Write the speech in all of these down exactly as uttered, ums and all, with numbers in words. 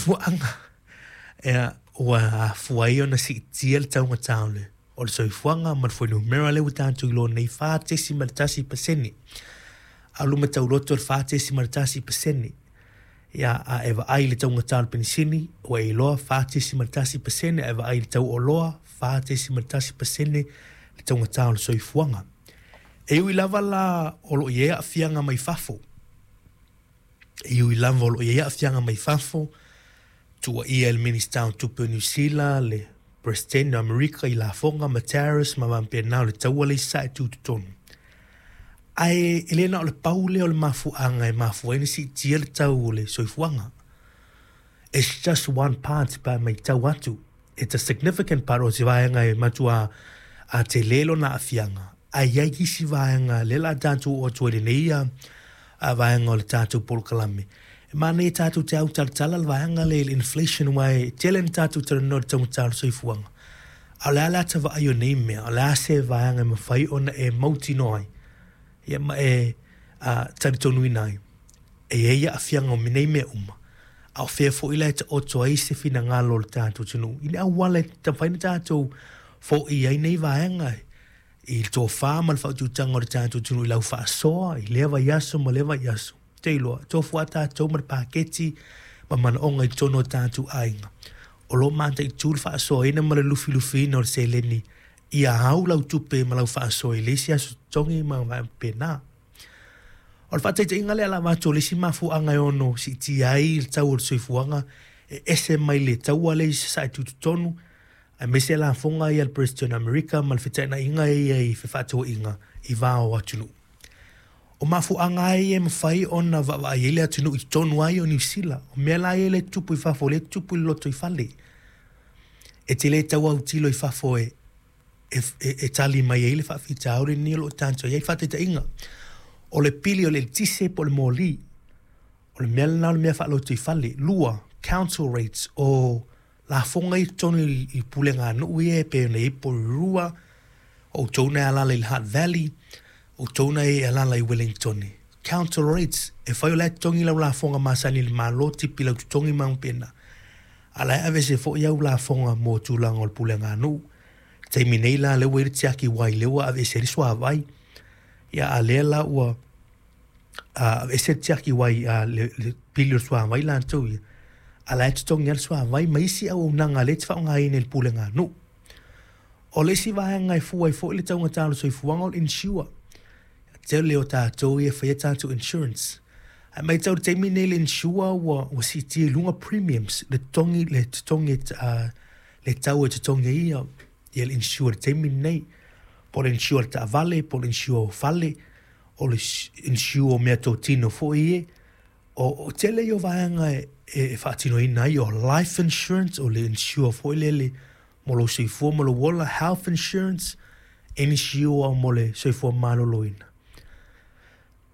mafuaaga ia ua afua ai ona siitia le taugata o le o le soifuaga ma le fuainumera lea ua tatou iloa nei, fa tesimal tasi pasene. A o luma tauloto le fa tesimal tasi pasene. Ia, a e vaai i le taugata o le penisini ua e iloa fa tesimal tasi pasene, a e vaai i le tau o oloa, fa tesimal tasi pasene le taugata o le soifuaga. E ui lava la o lo o i ai aafiaga mai fafo, e ui lava o lo o i ai aafiaga mai fafo, tuuaia e le Minisita o Tupe o Niu Sila le Peresetene o Amerika i lafoga ma tariffs ma faapena o le taua lea i sasae tutotonu. Ae e le na o le pau lea o le mafuaaga e mafua ai ona siitia le tau o le soifuaga. It's just one part pe a matau atu. It's a significant part, o se vaega e matua a tele lona aafiaga, ae i ai isi vaega lea o le a tatou oo atu ai i lenei a vaega o le tatou polokalame. E manaia tatou te autalatala le vaega lea i le inflation, aua e tele na tatou talanoa i le taugata o le soifuaga. A o le a le ata vaai o nei mea, o le a se vaega e mafai ona e mautinoa ai, ia ma e uh, talitonuina ai, e i ai aafiaga o nei mea uma, a o fea foi la e taoto ai se finagalo o le tatou atunuu i le auala e mafai ona tatou foia ai nei vaega i le tofa ma le faautautaga o le tatou atunuu i lau faasoa i lea vaiaso ma lea vaiaso. Te iloa, tofu a tatou ma le paketi ma manaoga i totonu o tatou aiga. O lo o mataitu le faasoaina ma le lufilufiina o le seleni ia au lau tupe ma lau faasoa i le isi aso totogi ma faapena. O le faataitaiga lea la avatu o le isi mafuaaga e ono siitia ai le tau o le soifuaga e ese mai le taua lea i sasae tutotonu, aemaise lafoga ia a le Peresetene o Amerika ma le feteenaiga ia i fefaatauaiga i va o atunuu. O mafuaaga ai e mafai ona vaavaai ai le atunuu i totonu ai o Niu Sila. O mea la ia e le tupu i fafo, le tupu i le lotoifale. E te le tau autilo i fafo e, e, e, e tali mai ai le faafitauli lenei o lo o tatou i ai. Faataitaiga, o le pili o le eletise po o le moli. O le mea lena o le mea faalotoifale. Lua, council rates, o lafoga i totonu i, i pulega nuu ia e pei ona i ai Porirua, o outou na e alaala i le Hutt Valley, o outou na e alaala i Wellington. Council rates, e fai o la e totogi lau lafoga masani i le Malo, tipi lau totogi ma faapena. A la e aveese foi au lafoga mo tulaga o le pulega nuu. Taimi nei la lea ua i le tiaki wai, lea ua aveese ai le suavai. Ia a lea la ua aveese le tiaki wai a le, le pili o le suavai latou ia. A la e totogi lava le suavai ma isi auaunaga lea e te faaaogaina i le pulega nuu. O le isi vaega e fua ai foi le taugata o le soifuaga o le insure. Tele o tatou ia e faia tatou insurance. Ae matau i le taimi nei le insure ua, ua siitia i luga premiums, le totogi, le totogi, uh, le tau e totogi ai ia, ia le insure i le taimi lenei. Po o le insure o le taavale, po o le insure o fale, o le insure o meatotino foi ie. O, o tele ia o vaega e, e faatinoina ai, o life insurance, o le insure foi lele mo lou soifua ma lou ola, health insurance, insure mo le soifua maloloina.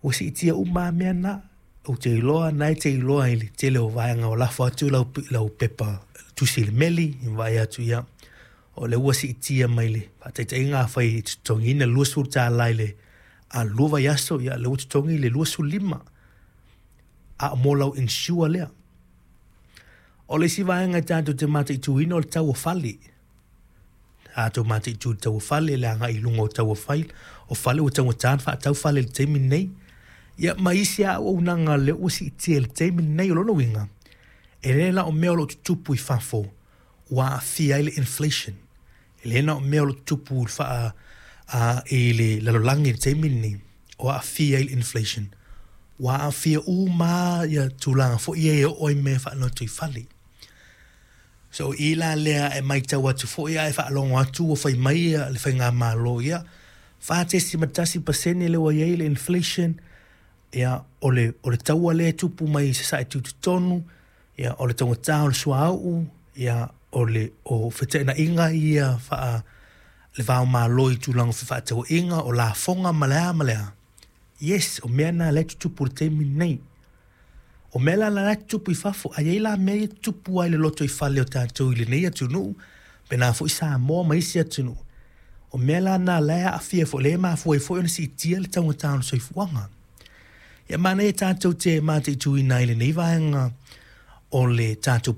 Ua siitia uma lava mea na. Ou te iloa, na e te iloa i le tele o vaega o lafo atu lau, lau pepa tusi i le meli, i vaai atu ia, o lea ua siitia mai le faataitaiga a fai e totogiina le luasefulu tala i le a lua vaiaso, ia lea ua totogi le luasefulu lima. A o mo lau insure lea. O le isi vaega e tatou te mataituina o le tau o fale. Tatou mataitu i le tau o fale, le agai i luga o tau o fale, o fale ua taugata ona faatau fale i le taimi lenei. Ia ma isi lava auaunaga lea ua siitia i le taimi lenei. O lona uiga, e le na o mea o lo o tutupu i fafo ua aafia ai le inflation. E le na o mea o lo o tutupu i le faa, uh, i le lalolagi i le taimi lenei o aafia ai le inflation. Ua aafia uma ia tulaga foi ia e oo ai mea faalotoifale. So i la lea e matau atu foi ae faalogo atu ua fai mai ia le faigamalo ia fa tesimal tasi pasene lea ua i ai le inflation, ia o le, o le taua lea e tupu mai i sasae tutotonu, ia o le taugata o le suauu, ia o le o feteenaiga ia faa le va o Malo i tulaga o fefaatauaiga, o lafoga ma le a ma le a. Yes, o mea na lea e tutupu i le taimi lenei. O mea la la e tutupu i fafo, ae i ai la mea ia e tutupu ai le lotoifale o tatou i lenei atunuu, pena foi Samoa ma isi atunuu. O mea la na la e aafia foi, lea e mafua ai foi ona siitia le taugata o le soifuaga. Ia manaia tatou te mataituina ai lenei vaega o le tatou